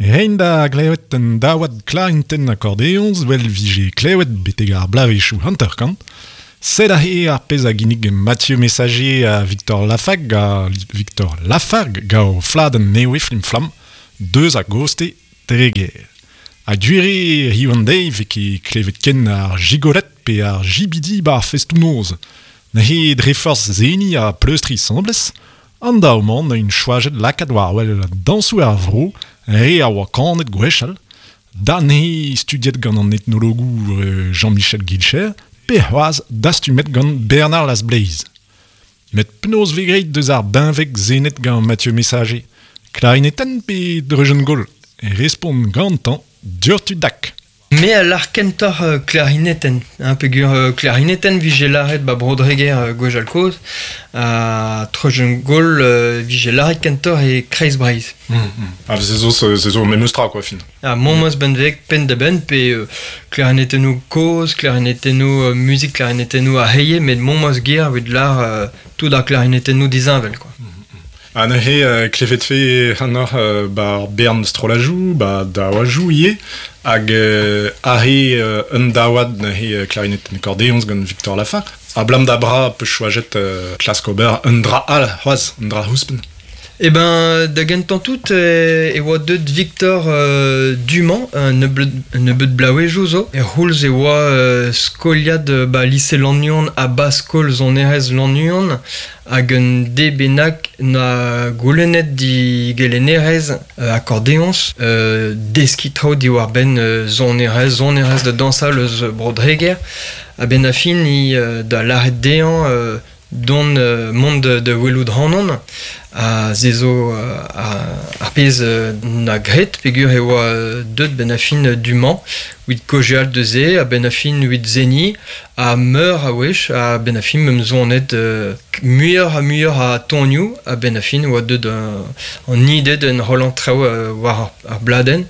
Rein da glevet un daouad klarintenn akordeoñs 'vel 'vije klevet betek ar bloavezhioù 50. Sed aze ar pezh a ginnig Mathieu Messager ha Victor Lafargue ha Victor Lafargue gant o fladenn nevez Flim-Flamm deus a goste Treger. Ha gwir eo hiziv an deiz 'vez ket klevet ken ar gigolet pe ar jibidi 'ba ar festoù-noz. Neuze dre forzh seniñ ha pleustriñ 'sambles, An daou-mañ 'neuint choajet lakaat war-wel dañsoù ar vro, re a oa kanet gwechall, da-neuze studiet gant an etnologour Jean-Michel Guilcher, pe c'hoazh dastumet gant Bernard Lasbleiz. Met penaos 'vez graet deus ar benveg senet gant Mathieu Messager? Klarinetenn pe dreujenn-gaol? Respont gantañ diouzhtu-dak. Me a lâr kentoc'h klarinetenn, hein, peogwir klarinetenn 'vije lâret 'ba Bro-Dreger gwechall-kozh, ha treujenn-gaol 'vije lâret kentoc'h e Kreiz-Breizh. Ah, se zo, se zo memes tra quoi, fin. Ha memes benveg penn-da-benn pe klarinetennoù kozh, klarinetennoù muzik, klarinetennoù ar c'heie, met memes ger evit lâr tout ar klarinetennoù disheñvel quoi. Ha neuze klevet 've ac'hanoc'h 'ba ar bern strollajoù, 'ba daouajoù ivez, hag aze un daouad neuze klarinetenn akordeoñs gant Victor Lafargue. Ablam da bra 'peus choajet klask ober un dra all c'hoazh, un dra ouzhpenn. Eh ben, da gentañ tout e oa deuet Victor du-mañ un nebeud bloavezhioù zo. Er c'houlz e oa skoliad ba lise Lannuon ha ba skol sonerezh Lannuon Hag un de bennak 'na goulennet digelennerez akordeoñs deskiñ traoù diwar-benn sonerezh, sonerezh da dañsal eus Bro-Dreger. A-benn ar fin hi da lâret dezhañ dont mont da welout ac'hanon. Ha se zo ar pezh 'na graet peogwir e oa deuet 'benn ar fin du-mañ evit kaozeal deus se, a-benn ar fin evit seniñ. Ha meur a wech, a-benn ar fin 'meump sonet muioc'h ha muioc'h a tonioù, a-benn ar fin 'oa deuet an ide d'enrollañ traoù war ar bladenn.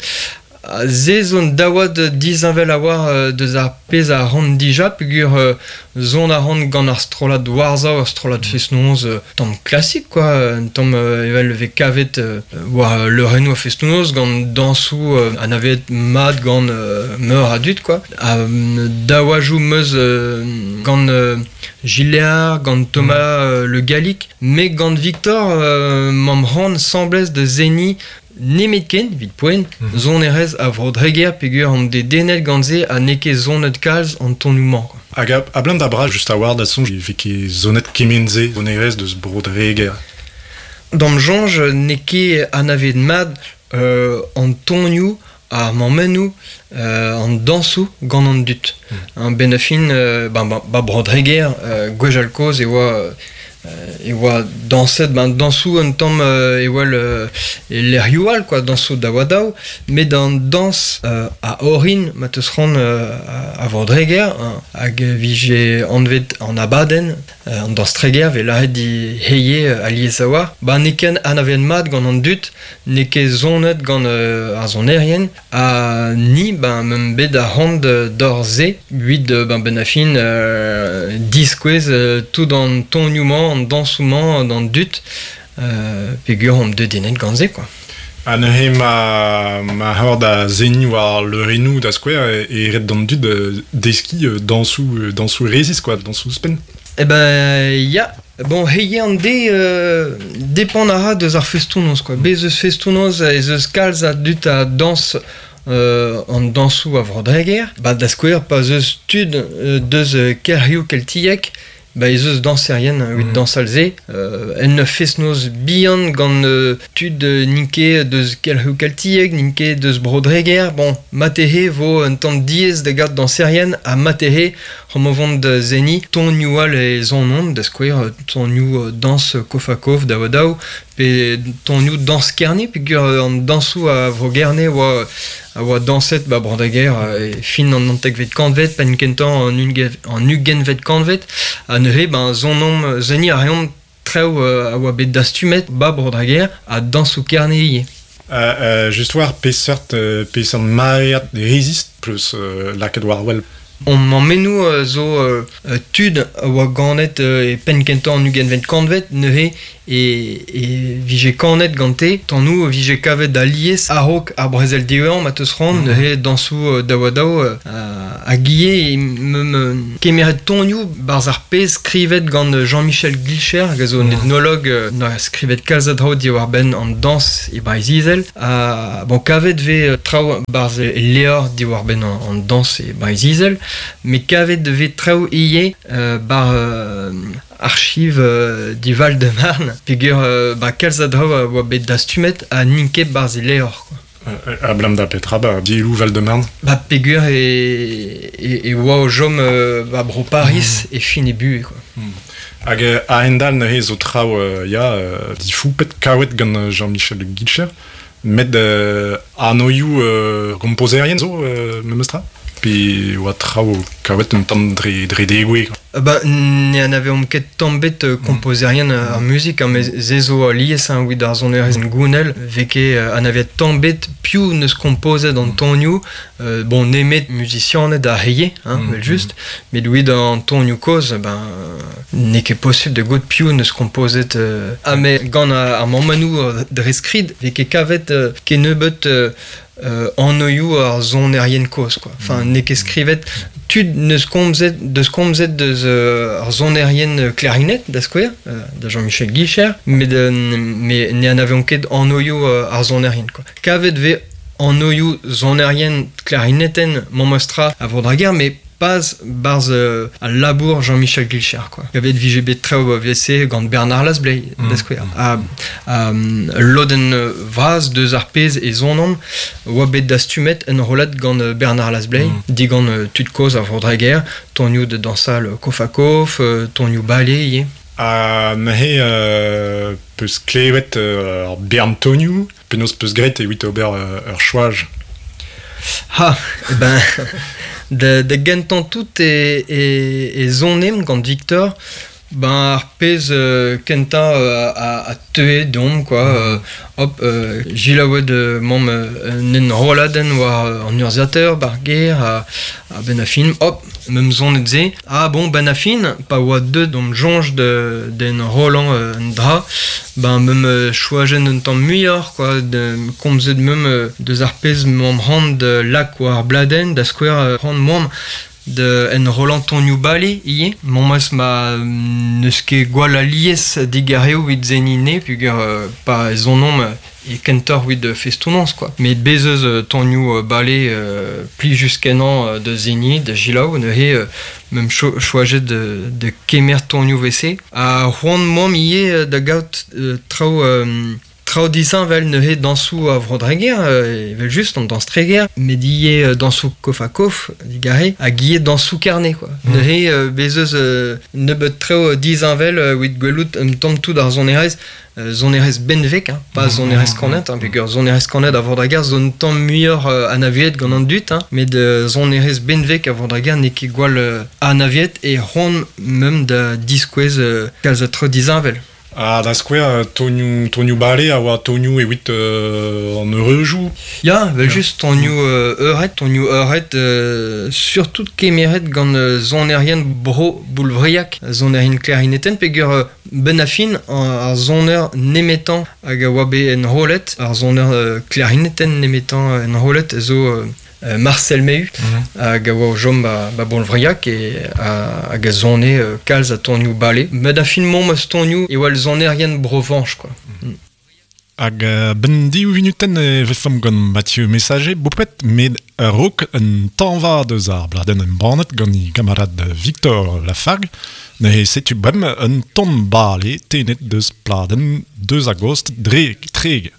Se zo un daouad disheñvel a-walc'h deus ar pezh a ran dija peogwir son a ran gant ar strollad Warsaw, ur strollad fest-noz tamm klasik quoi, un tamm evel 'vez kavet war leurennoù ar fest-noz gant dañsoù anavezet mat gant meur a dud quoi. Ha daouajoù 'm eus gant Gilles gant Thomas Le Gallic, met gant Victor 'mamp c'hoant 'sambles da seniñ nemetken, evit poent, sonerezh a Vro-Dreger peogwir omp dedennet gant se ha n'eo ket sonet kalz an tonioù-mañ. Hag abalamour da bras just a-walc'h da soñj e vez ket sonet kement-se sonerezh deus Bro-Dreger. D'am soñj n'eo ket anavezet mat an tonioù ar mammennoù, an dañsoù gant an dud. A-benn ar fin, ba Bro-Dreger, gwechall-kozh e oa e oa dañset ben dañsoù un tamm e oa e lec'hioù all quoi, dañsoù daou-ha-daou, met an dañs a orin ma 'teus c'hoant a Vro-Dreger hag e vije anvet an abadenn An dañs Treger 'vez lâret hiziv alies a-walc'h. Ba n'eo ket anavezet mat gant an dud, n'eo ket sonet gant ar sonerien ha ni ben 'meump bet ar c'hoant d'ober se evit ben 'benn ar fin diskouez tout an tonioù-mañ, an dañsoù-mañ d'an dud peogwir omp dedennet gant se quoi. Ha neuze ma ma c'hor da seniñ war leurennoù da skouer e ret d'an dud deskiñ dañsoù dañsoù resis quoi, dañsoù ouzhpenn. Eh ben ya, bon hiziv an deiz depend a ra deus ar festoù-noz quoi. Bez eus festoù-noz ez eus kalz a dud a dañs an dañsoù a Vro-Dreger. Ba da skouer pa 'z eus tud deus kelc'hioù keltiek Ba ez eus dañserien evit dañsal se. En ur fest-noz bihan gant tud n'int ket deus kelc'hioù keltiek, n'int ket deus Bro-Dreger. Bon, marteze 'vo un tamm diaes da gaout dañserien ha marteze omp o vont da seniñ tonioù all e sonont, da skouer tonioù dañs kof-ha-kof daou-ha-daou pe tonioù dañs Kerne peogwir an dañsoù a Vro-Gerne oa a oa dañset 'ba Bro-Dreger e fin an naontekvet kantved, penn kentañ an ugentvet kantved. Ha neuze ben sonomp, seniñ a reomp traoù a oa bet dastumet 'ba Bro-Dreger ha dañsoù Kerne ivez. Just war peseurt peseurt maread rezist peus lakaet war-wel? On mammennoù zo tud a oa ganet e penn kentañ an ugentvet kantved neuze e, e vije kanet gante tannoù vije kavet alies a-raok ar brezel diwezhañ ma teus c'hoant neuze dañsoù daou-ha-daou hag ivez meum kemeret tonioù barzh ar pezh skrivet gant Jean-Michel Guilcher hag a zo un ethnologue na skrivet kalz a draoù diwar-benn an dañs e Breizh-Izel ha bon kavet vez traoù barzh e levr diwar-benn an dañs e Breizh-Izel met kavet vez traoù ivez bar archiv di Val-de-Marne peogwir ba kalz a draoù a oa bet dastumet ha n'int ket barzh e levr quoi. Ablam da petra ba dielloù Val-de-Marne? Ba peogwir e, e, e oa o chom ba bro Paris e fin e buhez quoi. Hag a-hend-all neuze zo traoù ya difoupet kaouet gant Jean-Michel Guilcher met anoioù kompozerien zo memestra? Pe oa traoù kaouet un tamm dre, dre degouezh? Ba, ne anaveomp ket tamm bet kompozerien ar muzik, hein, met se zo alies hein, evit ar sonerezh gounel, vez ket anavezet tamm bet piv neus kompozet an tonioù, bon, nemet muzisianed ar c'heie, hein, evel-just, met evit an tonioù kozh, ben, n'eo ket posubl da goût piv neus kompozet. Ha met gant ar mammennoù dre skrid, vez ket kavet kennebeut anoioù ar sonerien kozh quoi. Enfin, n'eo ket skrivet tud neus komzet deus komzet deus ar sonerien clarinet da skouer, da Jean-Michel Guicher, met met ne anaveomp ket anoioù ar sonerien quoi. Kavet vez anoioù sonerien klarinetenn memestra a Vro-Dreger, met pas barzh al labour Jean-Michel Guilcher quoi. Kavet vije bet traoù VC gant Bernard Lasblay da skouer. Ha, ha lodenn vras deus ar pezh e sonan oa bet dastumet enrollet gant Bernard Lasblay, digant tud kozh a Vro-Dreger, tonioù da dañsal kof-ha-kof, tonioù bale ivez. Ha neuze peus klevet ar bern tonioù, penaos peus graet evit ober ur choaj? Ha, ben, da, da gentañ tout e, e, e sonemp gant Victor, ben ar pezh kentañ a, a teue deomp quoi. Hop, jilaouet mamm un enrolladenn war an urzhiataer ba'r gêr ha, ha benn ar fin, hop, meum sonet se. Ah bon, benn ar fin, pa oa deuet d'hom soñj d'en enrollañ un dra, ben meum choajet un tamm muioc'h quoi, de, komzet meum deus ar pezh m'am c'hoant da lak war ar bladenn, da skouer c'hoant moamp da enrollañ tonioù bale ivez. Memes ma n'eus ket gwall alies digarezioù evit seniñ ne peogwir pa ez onomp e kentoc'h evit festoù-noz quoi. Met bez eus tonioù bale plijus-kenañ da seniñ, da selaou neuze meum choajet da kemer tonioù WC. Ha c'hoant moamp ivez da gaout traoù traoù disheñvel neuze dañsoù a Vro-Dreger, evel-just an dañs Treger, met ivez dañsoù kof-ha-kof digarez, hag ivez dañsoù Kerne quoi. Neuze bez eus nebeut traoù disheñvel evit gwelout un tamm tout ar sonerezh, sonerezh benveg, hein, pas sonerezh kanet, hein, peogwir sonerezh kanet a Vro-Dreger zo un tamm muioc'h anavezet gant an dud, hein, met sonerezh benveg a Vro-Dreger n'eo ket gwall anavezet e c'hoant meump da diskouez kalz a traoù disheñvel. Ha da skouer, tonioù, tonioù bale a oa tonioù evit an eureujoù. Ya, evel-just, tonioù eured, tonioù eured, surtout kemeret gant sonerien bro Boulvriag, sonerien klarinetenn, peogwir benn ar fin, ar soner nemetañ hag a oa bet enrollet, ar soner klarinetenn nemetañ enrollet zo Marcel Mehu, hag a oa o chom ba, ba Boulvriag e, hag a sone kalz a tonioù bale. Met a fin mont eus tonioù e oa sonerien Brovanch, quoi. Hag ben div vinutenn e vefomp gant Mathieu Messager, bopet, met a-raok un tañva deus ar bladenn embannet gant e gamarad Victor Lafargue, neuze setu bremañ un ton bale tennet deus pladenn deus a-gost dre Treger.